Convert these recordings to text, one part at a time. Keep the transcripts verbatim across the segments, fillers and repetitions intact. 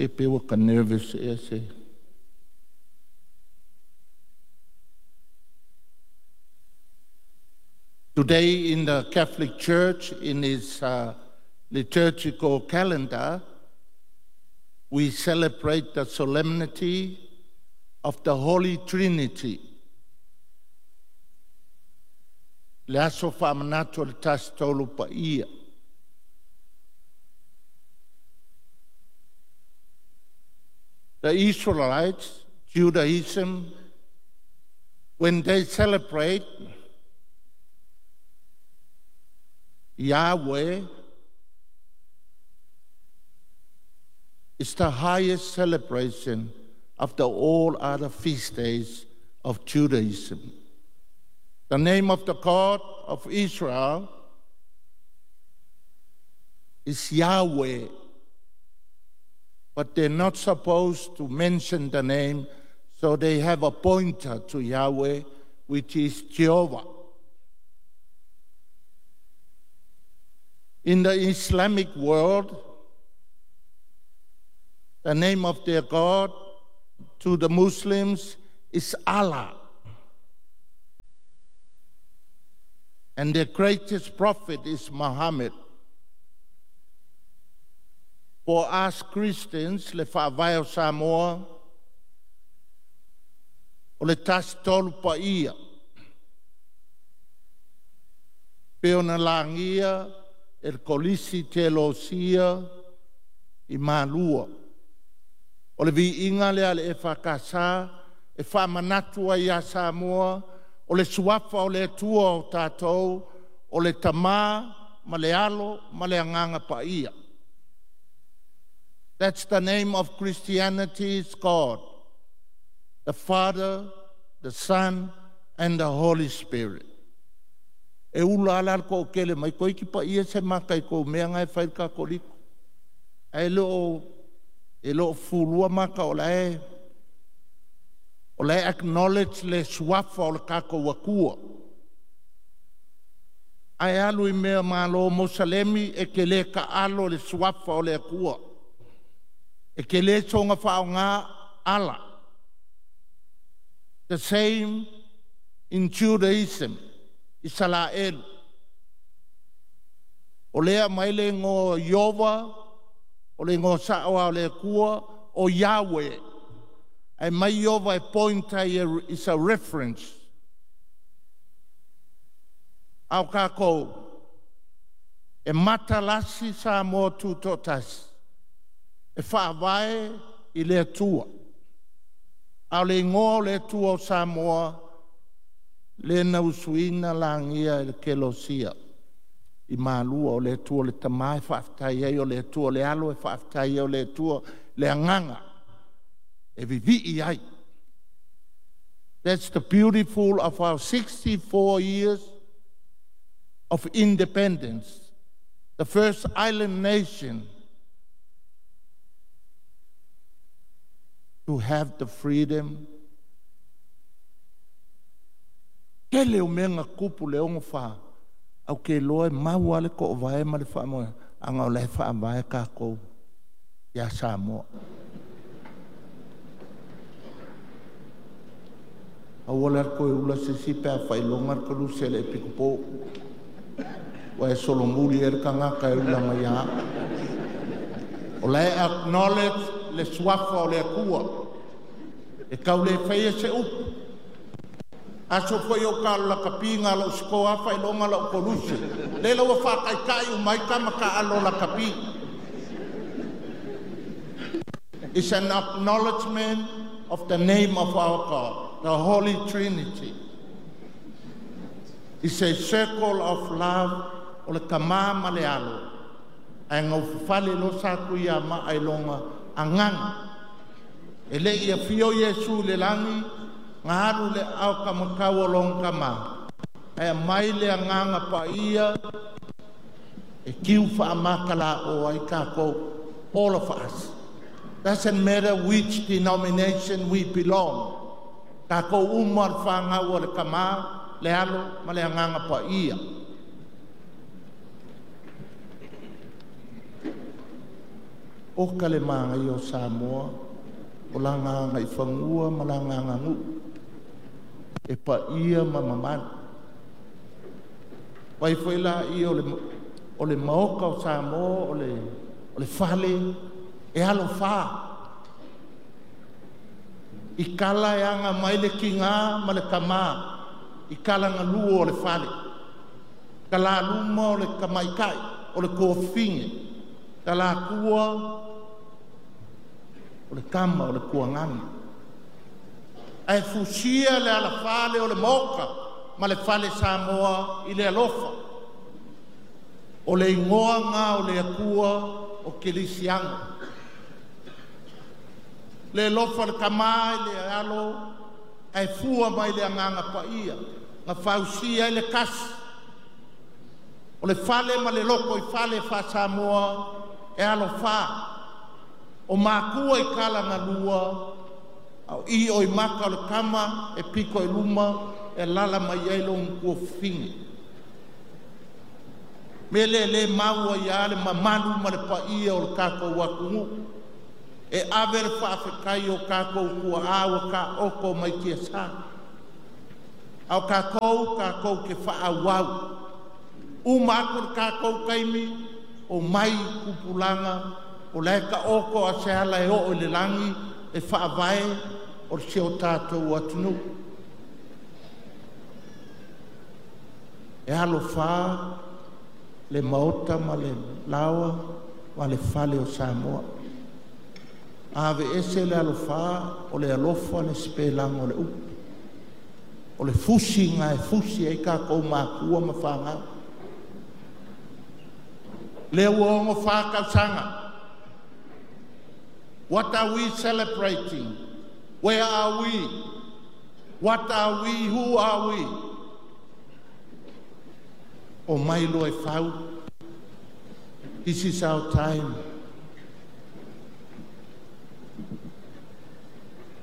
E pe ua ka nervous ea se. Today in the Catholic Church, in its uh, liturgical calendar, we celebrate the solemnity of the Holy Trinity. Le aso faamanatu o le Tasi Tolu Paia. The Israelites, Judaism, when they celebrate Yahweh, is the highest celebration after all other feast days of Judaism. The name of the God of Israel is Yahweh, but they're not supposed to mention the name, so they have a pointer to Yahweh, which is Jehovah. In the Islamic world, the name of their God to the Muslims is Allah. And their greatest prophet is Muhammad. For us Christians, le faavae o Samoa, o le Tasi Tolu Paia, pe ona lagia e le Kolisi Teolosia i Malua. O le viiga lea a le E F K S e faamanatu ai ia Samoa, o le suafa o le Atua o tatou, o le Tamā ma le Alo ma le Agaga Paia. That's the name of Christianity is God, the Father, the Son, and the Holy Spirit. E ula ala al ko kele mai koi ki pa ia se maka i ko mea ngai whai ka koliko. E lo, e lo fulua maka o la e, o la e acknowledge le suafa o le kako wakua. Ai alu i mea malo Mosalemi e ke le ka alo le suafa o le akua. E ke le songa whaonga ala. The same in Judaism, Israel. O lea mai le ngo Iova, o le ngo sa'oa o le Akua, o Yahweh. E mai Iova e pointa i is a reference. Au kākou, e matalasi sa mō tūtōtasi, e whaavae i le Atua. Au le ingoa o le Atua o Samoa, le na usuina langia e le kelosia. I malua o le Atua le Tamā e whaaftai ai o le Atua le Alo e whaaftai ai o le Atua le Agaga e vivii ai. That's the beautiful of our sixty-four years of independence, the first island nation to have the freedom. Kele o menga kupu le ongo wha, au ke loa e maua le ko vae ma le wha moe, anga o le wha vae kākou ia Samoa. Au ole ar koe ula se si pea whailonga ar kalu se le epikopo. Wa e solomuli e le kangaka e ula mai a. O le acknowledge le suafa o le akua. E kau le whaia se upu. Aso foi o ka la kapinga la usko afa ilonga la ukoluse. Le la wa kai kai umai kama ka alo la kapi. It's an acknowledgement of the name of our God, the Holy Trinity. It's a circle of love o le tamā ma le alo. Ai ngau fale lo sa kui a ma ai longa anganga. E le ia fio Yesu le langi, ngā alu le au ka makau o long kama. Ai mai le anganga pa ia, e kiu wha makala o ai kākou, all of us. Doesn't matter which denomination we belong. Kākou umar whangau o le kama, le alo, ma le anganga pa ia. Oka le māgai o Samoa, o langa anga i whangua ma langa anga ngu. E pa ia ma mamanu. Wai foi la i o le, o le maoka o Samoa, o le, o le fale, e alo wha. I kala e anga mai le kinga ma le kama, i kala ngā o le fale. Ka la luma o le kamaikai, o le kōfinge, ka la kua o le kama o le kuangani. Ae fusia le alafale o le moka ma le fale Samoa i le alofa. O le ingoa ngā o le akua o Kelisiano. Le alofa le kama i le alo, ae fua mai le anganga paia, na fausia ai le kasi. O le fale ma le loko i fale fa Samoa e alofa. O makua i kala ngā lua, au i o i maka o le kama e piko i luma e lala mai ai lo ngua finge. Me le le maua ia le mamalu ma le paia o le kākou atunuu. E ave le faafetai o kākou kua aua ka oko mai tia sa. Au kākou, kākou ke whaawau. Uma aku le kākou kaimi o mai kupulanga o le ka oko a se ala e o i le langi e whaavae o le seo tātou atunuu. E alofa le maota ma le lawa ma le fale o Samoa. Ave ese le alofa o le alofa le spelanga o le upu. O le fusi ngā e fusi ai kākou mākua ma whangau. Le ua ongo whākausanga. What are we celebrating? Where are we? What are we? Who are we? O mai loa e whau. This is our time.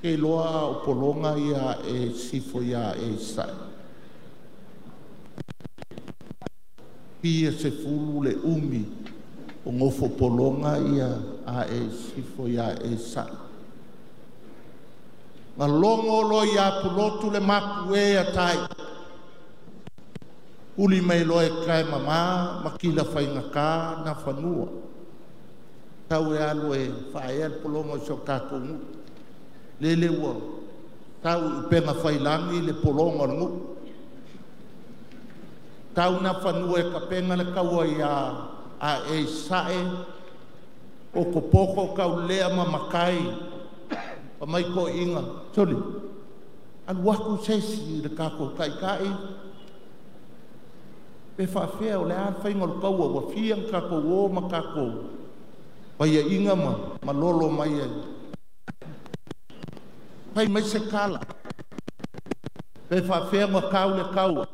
Ke loa o polonga ia e sifo ia e sai. Pia se fulu le umi o ngofo polonga ia a e sifo ia e sai. Ngā longo lo ia pulotu le mapu e a tai. Uli mai loa e kai mama, makila whaingaka na whanua. Tau e alu e whaea le polonga o so kākou ngu. Lele ua, tau i penga whailangi le polonga o le ngu. Tau na whanua e kapenga le kaua ia a e sae, o kopoko kau lea ma makai, pa mai ko inga. Soli, alu aku sesi le kākou kai kai, pe whaafea o le a whainga o le kaua, ua fia nga kākou o ma kākou. Paia inga ma, ma lolo mai ai. Pai mai se kala. Pe whaafea nga kau le kaua.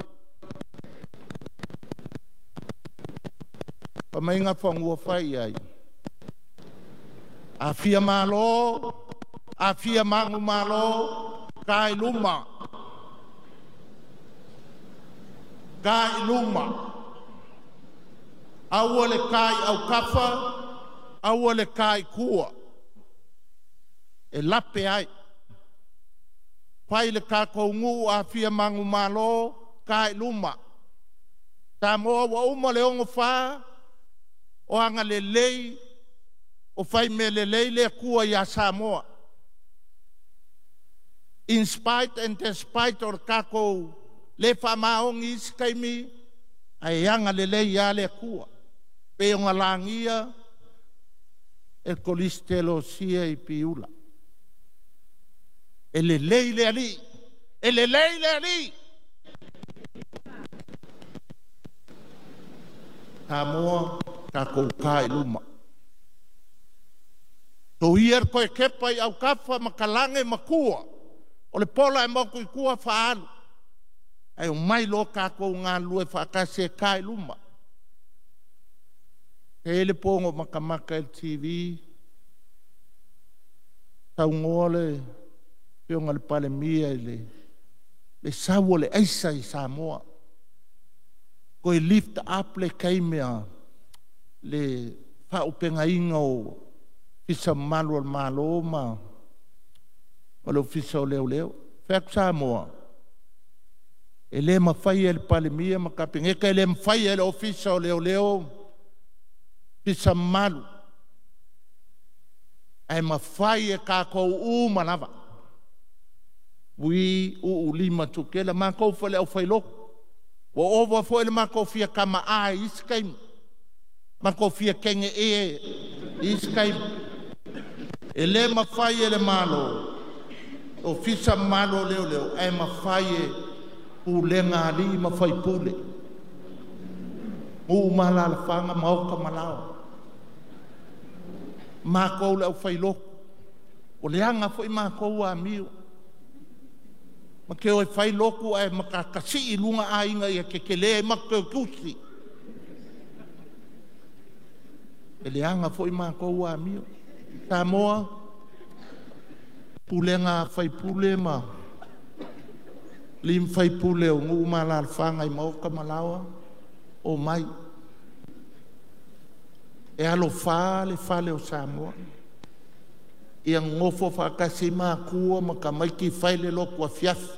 Pa mai ngā whangua whai ai. A fia malo, a fia mangu malo, kai luma. Kai luma. Aua le kai au kafa, aua le kai kua. E lape ai. Pai le kākou ngu a fia mangu malo, kai luma. Samoa ua uma le ongo wha, o anga le lei, o whai me le lei le kua ia Samoa. In spite and despite o le kākou le wha maongi isi kaimi, ai anga le lei ia le kua. Pe o ngā langia, e kolistelo sia i piula. E le lei le ali, e le lei le ali. Samoa, kākou kā i luma. Tō ia koe kepa i au kafa ma kalange makua. O le pola e moku i kua whaalu. Ai o mai lo kākou ngā lue whaakase e kā i luma. He ele pongo makamaka el T V. Tau ngoa le pionga le palemia i le, le saua le aisa i Samoa. Koe lift up le kaimea le whaopenga inga o Ofisa Mamalu o le Malo ma ma le Ofisa o Leoleo. Fai atu Samoa, e le mafai e le Palemia ma Kapeneta, e le mafai e le Ofisa o Leoleo, Ofisa Mamalu, ae mafai e tatou uma lava. Ui uu lima tukela matou foi le aufailotu. Ua ova foi le matou fia tamaai i isi taimi. Matou fia teine e i isi taimi. E le mafai e le Malo, Ofisa Mamalu o Leoleo, ae mafai e pulega a alii ma faipule, nuu ma alaalafaga, maota ma laoa. Matou le aufailotu, ua leaga foi matou amio. Ma te o e fai lotu ae matasii i luga aiga ia tetele ai matou te o e tusi. E leaga foi matou amio. Samoa, pulega a faipule ma alii ma faipule o nuu ma alaalafaga i maota ma laoa, omai. E alofa le fale o Samoa. Ia nonofo faatasi matua ma tamaiti fai le lotu afiafi.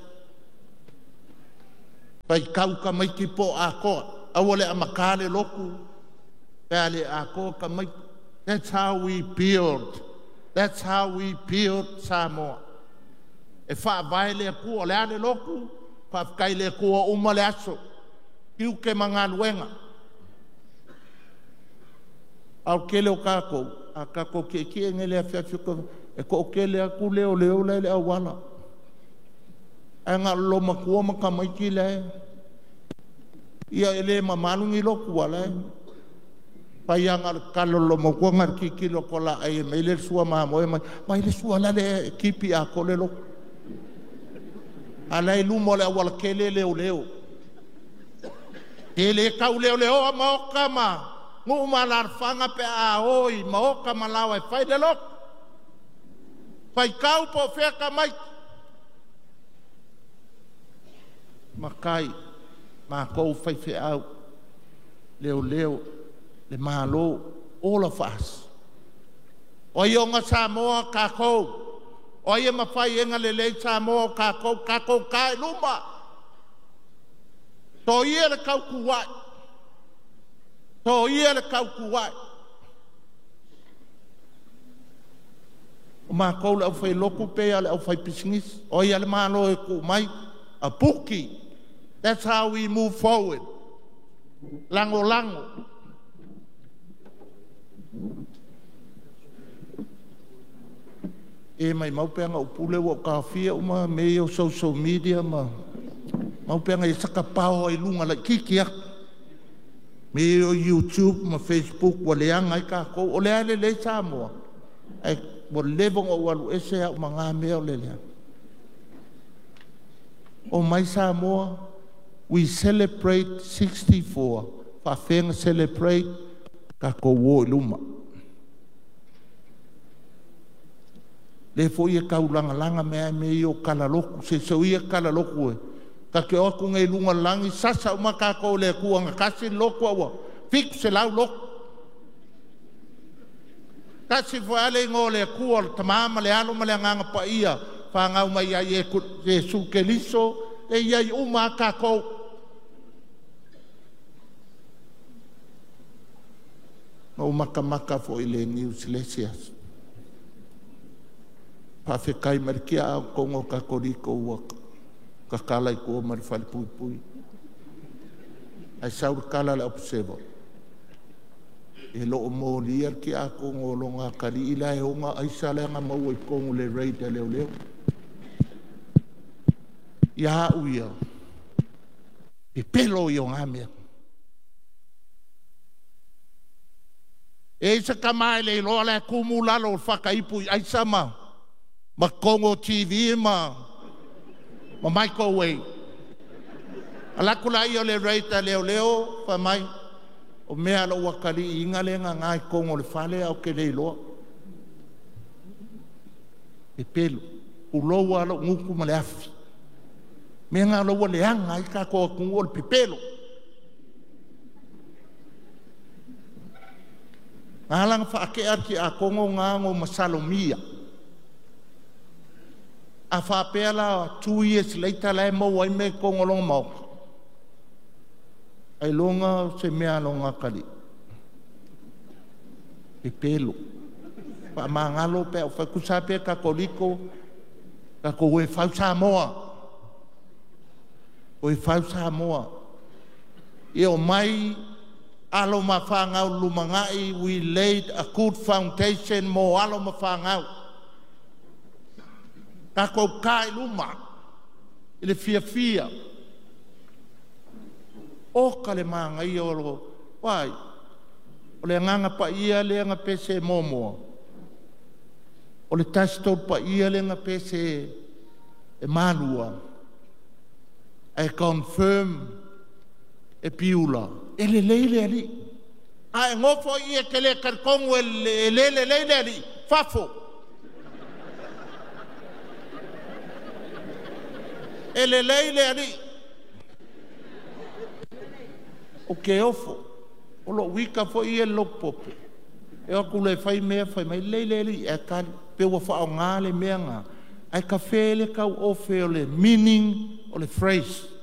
Faitau tamaiti po o atoa. Aua le amata le lotu pe a le atoa tamaiti. That's how we build. That's how we build Samoa. E faavae le Atua. O le a le lotu? Faafetai le Atua uma le aso. Tiute ma galuega. A o le tele o tatou, a tatou tietie nei i le afiafi e toatele atu leoleo la e i le auala. Ae na o le loomatua ma tamaiti la e... Ia e le mamalu ni lotu a o la e fai lava na o le tatalo a le loomatua na o le tilotilo atu lava o le a ai e mai le sua mamoe ma vaai le sua la e tipi atoa le lotu. A o la e i luma o le aualatele leoleo. E le tauleoleoa maota ma nuu ma alaalafaga pe a o i maota ma laoa e fai le lotu. Faitau po o fea tamaiti. Matai, matou faifeau, leoleo, le Malo, all of us. O ai ona Samoa? Tatou. O ai e mafai e lelei Samoa? O tatou, tatou ta i luma. Soia le tautuai. Soia le tautuai. O matou le aufailotu pe a le aufaipisinisi. O ai a le Malo e tuu mai? A puki. That's how we move forward. Lagolago. E maumau pe ana ou pule ua ou taofia uma mea ia o social media ma mau pe ana i ai sata power i luga laitiiti atu. Mea ia o YouTube ma Facebook ua leaga ai tatou. O lea e lelei Samoa, ae ua leva ona ou alu ese au ma na mea o le leaga. Omai Samoa, we celebrate sixty-four. Faafefea ona celebrate? Tatou o i luma. Lea foi e taulagalaga mea mea ia o kalalotu. Se so ia kalalotu e. Ta te o atu nei i luga o le lagi, sasa uma tatou le Atua na tasi le lotu a ua fitu selau lotu. Tasi foi lava le igoa o le Atua, o le Tama ma le Alo ma le Agaga Paia, fanau mai ia Iesu Keriso, e i ai uma lava tatou. Na ou matamata foi i le news i le isi aso. Faafetai mai le tiakono Katoliko ua tatala i tua ma le falepuipui. Ae sau le tala a le Observer, e le o molia le tiakono o lona atalii la e ona aisa lea na maua i totonu o le raid a leoleo. Ia au ia, pepelo ia o na mea. E i se tama e le iloa la e tumu lalo o le fakaipu i aisa ma, ma totonu o T V ma, ma microwave. Alaku la ia o le raid a leoleo, fai mai, o mea lou atalii inga le ngā i totonu o le fale au ke le iloa. Pepelo, pulou a lou ngutu ma le afi. Mea ngā laua leaga ai tātou atunuu o le pepelo. Ngā whaakea ki a kongo ngā ngō masalomia. A whāpea la two years later la e maua ai mea i totonu o lona maota. Ailoga o se mea a lona atalii. Pepelo. Faamagalo pe a ou fai atu, tusa lava pe Katoliko, tatou o e fau Samoa. O e fau Samoa. Ia omai alo ma fanau i le lumanai, we laid a good foundation mo alo ma fanau. Tatou ta i luma i le fiafia. Oka le manaia o lo... Uai, o le agaga paia lea na pese muamua. O le Tasi Tolu Paia lea na pese e Malua ae confirm e Piula, e lelei le alii. A e nofo i i e te le talitonu e le lelei le alii, fafo. E lelei le alii. Ou te ofo. O lou ita foi ia i le lotu pope, e o atu loa e fai mea fai mai, lelei le alii, ae tali. Pe ua faaaoga le mea lena, ae kafe le tau ofe o le meaning o le phrase.